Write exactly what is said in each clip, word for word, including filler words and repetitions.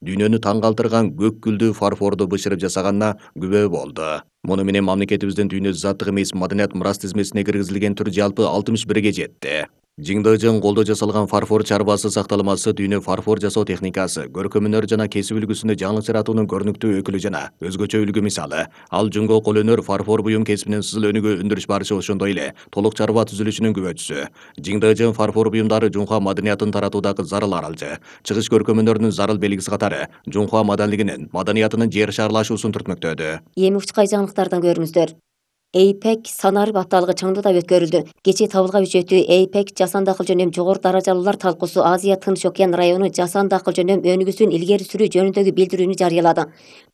дүйнөнү таң калтырган көк гүлдүү фарфорду бышырып жасаганына күбө болду. Муну менен мамлекетибиздин дүйнө заттык эмес маданият мурас тизмесине киргизилген түр жалпы алтымыш бирге жетти. Жиңдыжың колдо жасалган фарфор чарбасы сакталмасы дүйнө фарфор жасоо техникасы, көркөм өнөр жана кесип үлгүсүндө жаңылык жаратуунун көрүнүктүү өкүлү жана өзгөчө үлгү мисалы. Ал жунго кол өнөр фарфор буюм кесибинин сызыл өнүгүү өндүрүш барышы ошондой эле толук чарба түзүлүшүнүн күбөчүсү. Жиңдыжың фарфор буюмдары жунхуа маданиятын таратуудагы зарыл аралжы, чыгыш көркөм өнөрүнүн зарыл белгиси катары жунхуа маданилигинин, маданиятынын жер шарлашуусун түртмөктөдү. Эми учкай жаңылыктардан көрүңүздөр. эйпек санарып апталыгы Чаңдыда өткөрүлдү. Кечээ табылга үчөтүү эйпек жасан дакыл жөнүнөн жогору даражалуулар талкуусу Азия Тынч океан району жасан дакыл жөнүнөн өнүгүүсүн илгери сүрүү жөнүндөгү билдирүүнү жарыялады.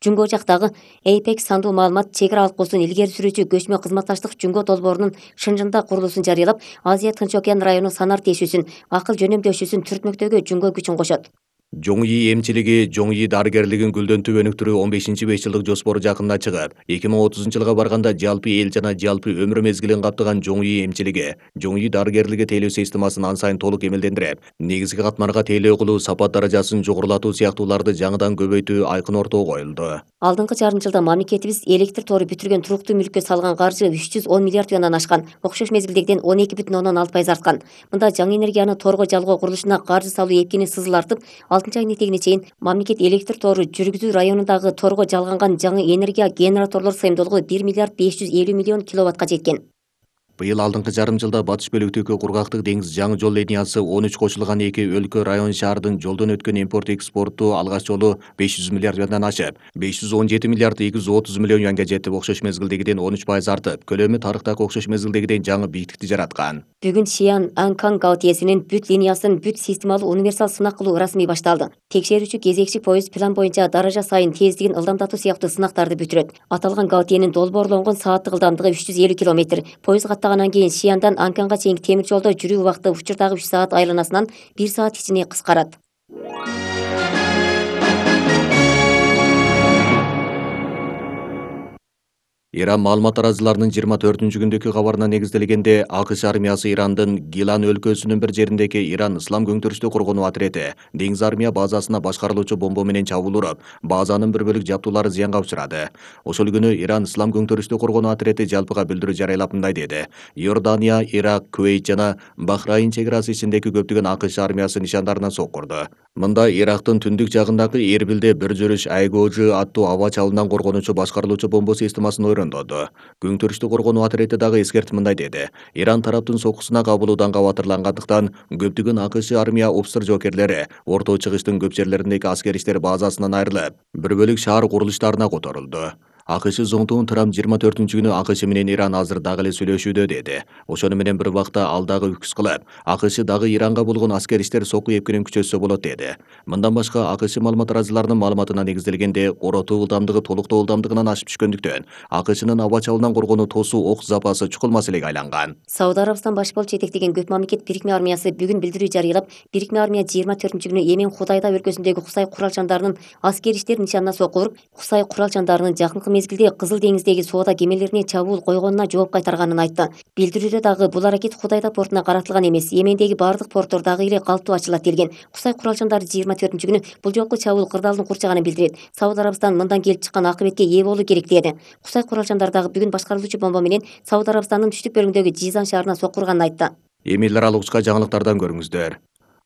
Жунго жактагы эйпек сандуу маалымат чек ара алкуусун илгери сүрүүчү көчмө кызматташтык жунго долбоорунун Шынжында курулуусун жарыялап, Азия Тынч океан району санар тиешүүсүн, акыл жөнөмдөшүүсүн түртмөктөөгө жунго күчүн кошот. Жоңйи эмчилиги, Жоңйи дарыгерлигин гүлдөнтүп өнүктүрүү он бешинчи беш жылдык жоспору жакында чыгып, эки миң отузунчу жылга барганда жалпы эл жана жалпы өмүр мезгилин каптаган Жоңйи эмчилиги, Жоңйи дарыгерлиги тейлөө системасын ан сайын толук эмелдендирип, негизги катмарга тейлөө кылуу, сапат даражасын жогорулатуу сыяктууларды жаңыдан көбөйтүү айкын ортого коюлду. Алдыңкы жарым жылда мамлекетибиз электр тору бүтүргөн туруктуу мүлккө салган каржы үч жүз он миллиард юандан ашкан, окшош мезгилдегиден он эки бүтүн ондон алты пайыз арткан. Мында жаңы энергияны торго жалгоо курулушуна каржы салуу эпкени сызылартып, алтынчы айдын этегине чейин мамлекет электр тору жүргүзүү районундагы торго жалганган жаңы энергия генераторлор сыйымдуулугу бир миллиард беш жүз элүү миллион киловаттка жеткен. Быйыл алдыңкы жарым жылда батыш бөлүктөгү кургактык деңиз жаңы жол линиясы он үч кошулган эки өлкө район шаардын жолдон өткөн импорт экспорту алгач жолу беш жүз миллиард юандан ашып, беш жүз он жети миллиард эки жүз отуз миллион юанга жетип, окшош мезгилдегиден он үч пайыз артып, көлөмү тарыхтагы окшош мезгилдегиден жаңы бийиктикти жараткан. Бүгүн Шиан Анкан гаутиесинин бүт линиясын бүт системалуу универсал сынак кылуу расмий башталды. Текшерүүчү кезекчи поезд план боюнча даража сайын тездигин ылдамдатуу сыяктуу сынактарды бүтүрөт. Аталган гаутиенин долбоорлонгон сааттык ылдамдыгы үч жүз элүү километр. Поезд каттагандан кийин Шияндан Анканга чейинки темир жолдо жүрүү убакыты учурдагы үч саат айланасынан бир саат ичине кыскарат. Иран маалымат тараазыларынын жыйырма төртүнчү күндөгү кабарына негизделгенде, АКШ армиясы Ирандын Гилан өлкөсүнүн бир жериндеги Иран Ислам көңтүрүштүү коргонуу отряди деңиз армия базасына башкарылуучу бомба менен чабуул уруп, базанын бир бөлүк жабдуулары зыянга учурады. Ошол күнү Иран Ислам көңтүрүштүү коргонуу отряди жалпыга билдирүү жарыялап мындай деди: Иордания, Ирак, Кувейт жана Бахрейн чек арасы ичиндеги көптөгөн АКШ армиясы нишандарына соккурду. Мында Ирактын түндүк жагындагы Эрбилде бир жүрүш Айгожу аттуу аба чабуулунан коргонуучу башкарылуучу бомба системасын ойрондоду. Көңтүрүштүү коргонуу отряди дагы эскертип мындай деди: Иран тараптын соккусуна кабылуудан кабатырлангандыктан көптөгөн АКШ армия офицер жоокерлери Орто Чыгыштын көп жерлериндеги аскер иштер базасынан айрылып, бір бөлүк шаар курулуштарына которулду. АКШ зоңтугун Трамп жыйырма төртүнчү күнү АКШ менен Иран азыр дагы эле сүйлөшүүдө деди. Ошону менен бир убакта ал дагы үкүс кылып, АКШ дагы Иранга болгон аскер иштер сокку эпкенин күчөтсө болот деди. Мындан башка АКШ маалымат тараазыларынын маалыматына негизделгенде, коротуу ылдамдыгы толуктоо ылдамдыгынан ашып түшкөндүктөн АКШнын аба чабуулунан коргонуу тосуу ок запасы чукул маселеге айланган. Сауд Арабистан баш болуп жетектеген көп мамлекет бирикме армиясы бүгүн билдирүү жарыялап, бирикме армия жыйырма төртүнчү күнү Йемен Худайда өлкөсүндөгү Кусай куралчандарынын аскер иштер нишанына сокку уруп, Кусай куралчандарынын жакынкы мезгилде Кызыл деңиздеги соода кемелерине чабуул койгонуна жооп кайтарганын айтты. Билдирүүдө дагы бул аракет Худайда портуна каратылган эмес, Йемендеги бардык порттор дагы эле калптуу ачылат делген. Кусай куралчандары жыйырма төртүнчү күнү бул жолку чабуул кырдаалын курчаганын билдирет. Сауд Арабистан мындан келип чыккан акыбетке ээ болуу керек деди. Кусай куралчандары дагы бүгүн башкарылуучу бомба менен Сауд Арабистандын түштүк бөлүгүндөгү Жизан шаарына соккурганын айтты. Эми эл аралык учка жаңылыктардан көрүңүздөр.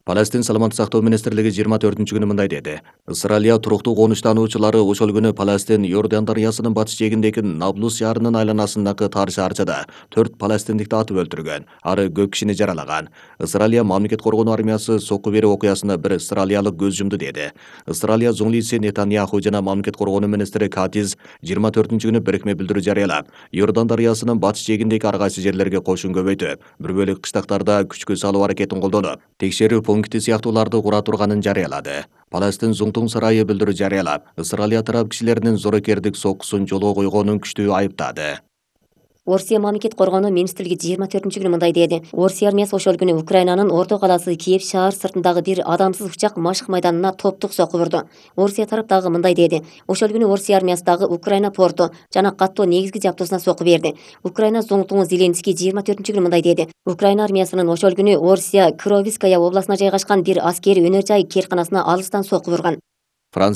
Палестин саламаттык сактоо министрлиги жыйырма төртүнчү күнү мындай деди: Израилия туруктуу конуштануучулары ошол күнү Палестин Иордан дарыясынын батыш жээгиндеги Наблус шаарынын айланасындагы тар шаарчада төрт палестиндикти атып өлтүргөн, ары көп кишини жаралаган. Израилия мамлекет коргонуу армиясы сокку берүү окуясына бир израилиялык көз жумду деди. Израилия зоңлиси Нетаньяху жана мамлекет коргонуу министри Катиз жыйырма төртүнчү күнү бирикме билдирүү жарыялап, Иордан дарыясынын батыш жээгиндеги ар кайсы жерлерге кошун көбөйтүп, бир бөлүк кыштактарда күчкө салуу аракетин колдонуп, текшерүү пункти сыяктууларды кура турганын жарыялады. Палестин Зуңтуң сарайы билдирүү жарыялап, Израилия тарап кишилеринин зорокердик соккусун жолго койгонун күчтүү айыптады. Орусия мамлекет коргонуу министрлиги жыйырма төртүнчү күнү мындай деди: Орусия армиясы ошол күнү Украинанын орто калаасы Киев шаар сыртындагы бир адамсыз учак машык майданына топтук сокку урду. Орусия тарап дагы мындай деди: Ошол күнү Орусия армиясы дагы Украина порту жана каттоо негизги жабдуусуна сокку берди. Украина зоңтуңу Зеленский жыйырма төртүнчү күнү мындай деди: Украина армиясынын ошол күнү Орусия Кировская областына жайгашкан бир аскери өнөр жай керканасына алыстан сокку урган.